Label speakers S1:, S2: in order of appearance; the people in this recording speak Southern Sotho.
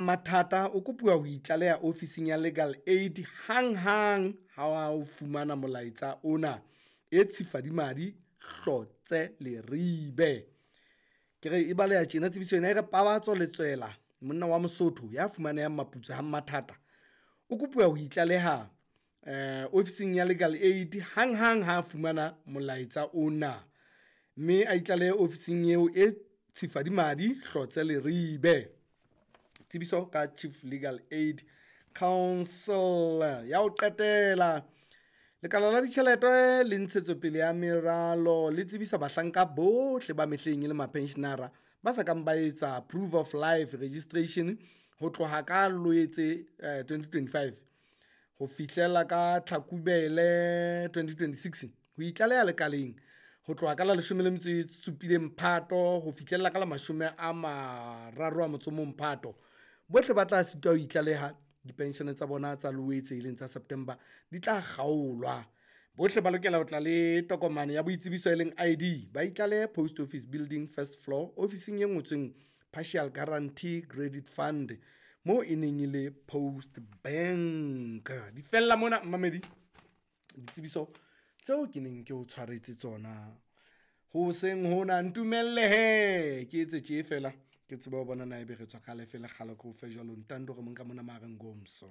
S1: Mathata o kopuwa ho itlaleha ofising ya Legal Aid hanghang ha o fumana molaetsa ona e Tshifadimadi Hlotse Leribe. Ke re e baleha tjena tsebiso ena e re Pabatso Letswela monna wa Mosotho ya fumanehang Maputswe ha Mathata o kopuwa ho itlaleha ofising ya Legal Aid hanghang ha fumana molaetsa ona, mme a itlalehe ofising eo e Tshifadimadi Hlotse Leribe. Tsebiso ka Chief Legal Aid Council. Ya ho qetela, lekala la ditjhelete le ntshetsopele ya meralo le tsebisa bahlanka bohle ba mehleng e le mapensionara ba sa kang ba etsa proof of life registration ho tloha ka Loetse 2025 ho fihlela ka Tlhakubele 2026 ho itlaleha lekaleng ho tloha ka la 17 Phato ho fihlella ka la 31 Phato. Bohle ba tla sitwa ho itlaleha dipenshene tsa bona tsa Loetse e leng tsa September di tla kgaolwa. Bohle ba lokela ho tla le tokomane ya boitsebiso e leng ID, ba itlalehe Post Office Building first floor ofising e ngotsweng Partial Guarantee Credit Fund moo e neng e le Post Bank. Di fella mona mmamedi ditsebiso tseo ke neng ke o tshwaretse tsona hoseng hona. Ntumelle hee ke etse tje fela ke tsebe ho bona na ebe re tswa ka lefe lekgala ke o fe jwalo ntando re mo nka mona mahareng ngomso.